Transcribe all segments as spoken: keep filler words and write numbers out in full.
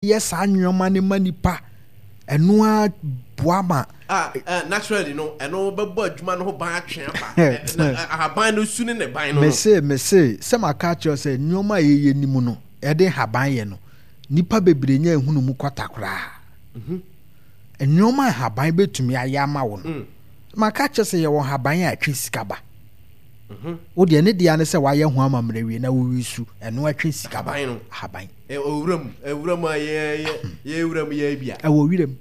Yɛ saa nneɛma no ma nipa, ɛno ara boa ma. Ah, eh, naturally no, ɛno bɛbɔ adwuma no ho ban atwe aba. Na ahaban no su ne ne ban no. Mese, mese, sɛ maka akyerɛ sɛ nneɛma a yɛyɛ nim no, yɛde nhaban yɛ no, nipa bebree nya ehunu mu kɔta koraa. Mhm. Nneɛma a nhaban bɛtumi ayɛ ama wo no, mm. maka akyerɛ sɛ yɛwɔ nhaban a ɛtwe sika ba. Mhm. Wo deɛ ne deɛ ne sɛ wayɛ ho amammerɛ wie na wowi su, ɛno ɛtwe sika ba. Ahaban. Owura mu, ewura mu a yɛ yɛ yɛ wura mu yɛ bia. Ɛwɔ wira mu.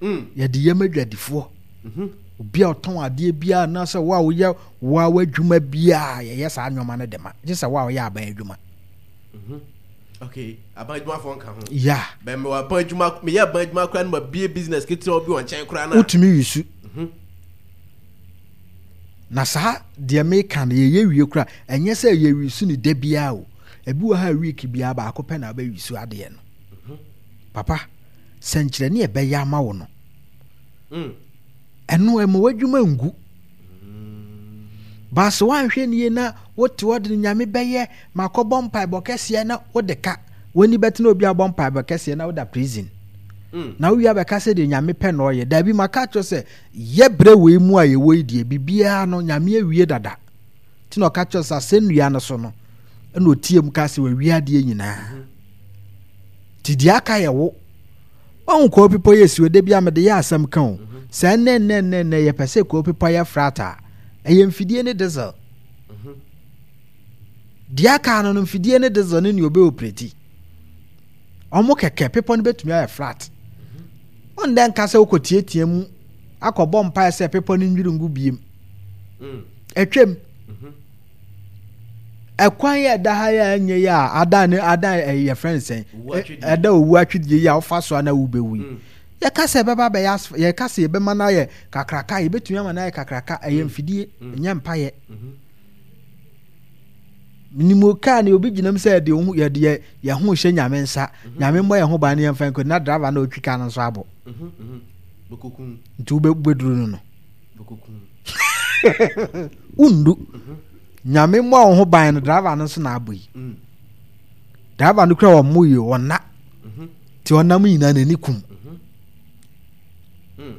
Mm. Yɛde yɛm adwadifoɔ. Mhm. Obi a ɔtɔn adeɛ biara anaasɛ wo a woyɛ wo a w'adwuma biara yɛyɛ saa nneɛma no de ma. Gye sɛ wo a woyɛ aban adwuma. Mhm. Okay, aban adwumafoɔ nka ho. Yeah. Bɛn mewɔ aban adwuma, meyɛ aban adwuma koraa no ma bie business ketewa bi wɔ nkyɛn koraa na. Wotumi wisu. Mhm. Na saa deɛ meka no yɛyɛ wie koraa ɛnyɛ sɛ yɛwisu no da biara o. Ebi wɔ ha week biara baako pɛ na wobɛwisu adeɛ no. Mhm. Papa, sɛnkyerɛnne a ɛbɛyɛ ama wo no, mm. ɛno ɛma w'adwuma ngu. Mm. Baasa woanhwɛ nie na wote hɔ de Nyame bɛyɛ makɔbɔ mpaebɔ kɛseɛ na wode ka w'ani bɛtena obi abɔ mpaebɔ kɛseɛ na woda prison. Mm. Na wowie abɛka sɛ deɛ Nyame pɛ na ɔyɛ. Daabi maka kyerɛ sɛ yɛ berɛ wei mu a yɛwɔ yi deɛ biribiara no Nyame awie dada. Nti na ɔka kyerɛ sɛ asɛnnua no so no ɛna ɔtie mu ka sɛ wawie adeɛ nyinaa. Nti deɛ aka yɛ wo. Wahu kɔɔ bepɔ yɛ si da bi a mede yɛ asɛm ka o. Sɛ nnɛ nnɛ nnɛ nnɛ yɛpɛ sɛ kɔɔ bepɔ yɛ flat a, ɛyɛ mfidie ne diesel. Deɛ aka no no mfidie ne diesel ne nea ɔbɛ operate. Ɔmo kɛkɛ bepɔ no bɛtumi ayɛ flat. Ɔndɛ nka sɛ wokɔ tietia mu akɔbɔ mpaeɛ sɛ bepɔ no nwiri ngu biem. Atwam. Ɛkwan yi a ɛda ha yi a ɛnyɛ yi a ada ne ada ɛyɛ yɛfrɛ no sɛn ɛda owu atwidie yi a wofa so a na wobɛwu yi mm. Yɛka sɛ ɛbɛba bɛyɛ asf yɛka sɛ yɛbɛma no ayɛ kakraka, yɛbɛtumi ama no ayɛ kakraka. Ɛyɛ mm. mfidie mm. Ɛnyɛ mpayɛ mm-hmm. Minimu kaa ne obi gyinam sɛ yɛde ho yɛde yɛ yɛn ho hyɛ Nyame nsa mm-hmm. Nyame mmɔ yɛn ho ban ne yɛmfa nkɔ na driver na ɔtwi kaa no nso abɔ mm-hmm, nti wobɛduru no no wondu. Nyame mmɔ wo ho ban no, driver no nso na abɔ yi. Mm. Driver no kura wɔn mo yi wɔn na mhm. Ti ɔnam nyinaa n'ani kum. Mhm. Mm.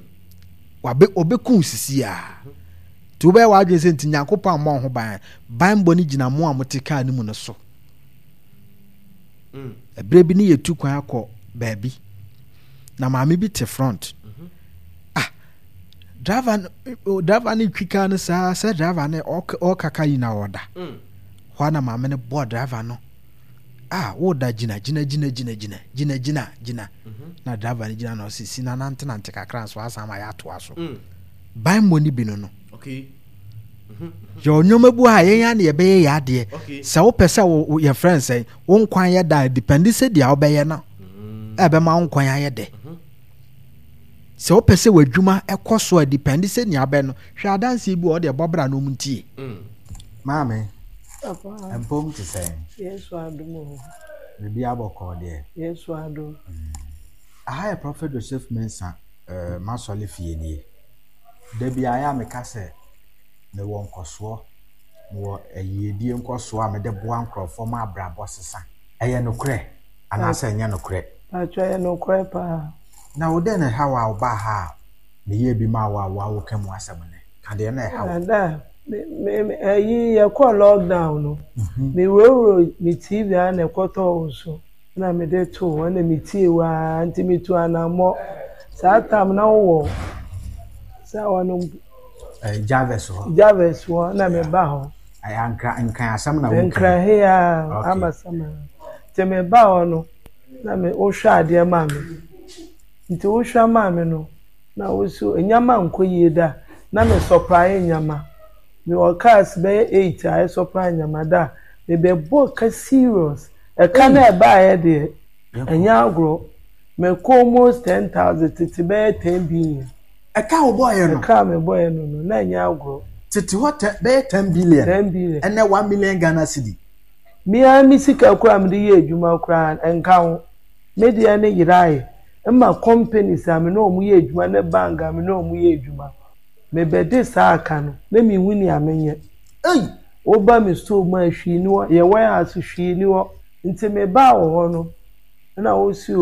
Wabe ɔbɛkum sisi a mhm. Nti wobɛyɛ w'adwene sɛ nti Nyankopɔn ammɔ wo ho ban. Banbɔ no gyina mo a mote kaa no mu no so. Mm. Ɛberɛ bi ne yɛtu kwan akɔ baabi na maame bi te front. Ah, driver no driver no twi kaa no saa sɛ driver no ɔkaka yi na ɔda mm. Hɔ a na maame no bɔ driver no, ah, woda, gyina gyina gyina gyina gyina gyina gyina gyina mhm. Na driver no gyina na ɔsi si na nante nante kakra nso asan ma yɛatoa so mm. Ban mmɔ no bi no no okay. Mhm, mhm. Yɛ nneɛma bi a yɛn ara na yɛbɛyɛ yɛ adeɛ sɛ wopɛ sɛ wo yɛfrɛ no sɛn wo nkwan yɛ da depende sɛ deɛ wobɛyɛ no mm. Ɛbɛma wo nkwan ayɛ dɛ. Sɛ wopɛ sɛ w'adwuma kɔ so a depende sɛ nea abɛ no. Hwɛ adanseɛ bi wɔ hɔ deɛ bɔ bra na ɔmu ntie. Mm. Maame, mpom te sɛn? Yesu adom o. Biribi abɔkɔɔ deɛ. Yesu adom. Mm. Aha yɛ Prophet Joseph Mensah uh, m'asɔre fie nie. Da bi ayɛ a meka sɛ mewɔ nkɔsoɔ, mewɔ ayiedie nkɔsoɔ a mede boa nkurɔfoɔ ma abrabɔ sesa. Ɛyɛ nokorɛ anaasɛ ɛnyɛ nokorɛ? Paatwa, ɛyɛ nokorɛ paa. Na wo dɛn na ɛha wo a wobaa ha a meyɛɛ bi maa wo a wo a woka mu asɛm nnɛ? Ka deɛ na ɛha wo. Ada, me me ɛyi yɛkɔɔ lockdown no, Mhm. mewurawura me T V a na ɛkɔtɔɔ wo so na mede too hɔ na metie wo ara nti metu anammɔ. Saa tam na wowɔ sɛ wɔno Eh, Jarvis hɔ. Jarvis hɔ na meba hɔ. Ɛyɛ ankra nkran asɛm na woka. Nkran he a Okay. ama sɛm a. Nti meba hɔ no na me wohwɛ adeɛ maa me. Nti wohwɛ maa me no na wo so nneɛma nkɔ yie da na me supply nneɛma. Mewɔ cars bɛyɛ eight a ɛsupply nneɛma da a mebɛbɔ ka serious. Ɛka no a ɛbaeɛ deɛ ɛnyɛ agorɔ. Mekɔ almost ten thousand, tete bɛyɛ ten billion. Ɛka a wobɔeɛ no? Ɛka a mebɔeɛ no no na ɛnyɛ agorɔ. Tete hɔ tɛ bɛyɛ ten billion. Ten billion. Ɛnɛ one million Ghana cedi. Me ara me sika koraa a mede yɛ adwuma koraa ɛnka ho. Me deɛ no yeraeɛ. Ɛma companies a me ne wɔn yɛ adwuma ne bank a me ne wɔn yɛ adwuma, mebɛgye saa aka no na menhu nea menyɛ. Ei! Woba me store mu a hwee nni hɔ, yɛn warehouse hwee nni hɔ. Nti mebaa wɔ hɔ no, Ɛna wosi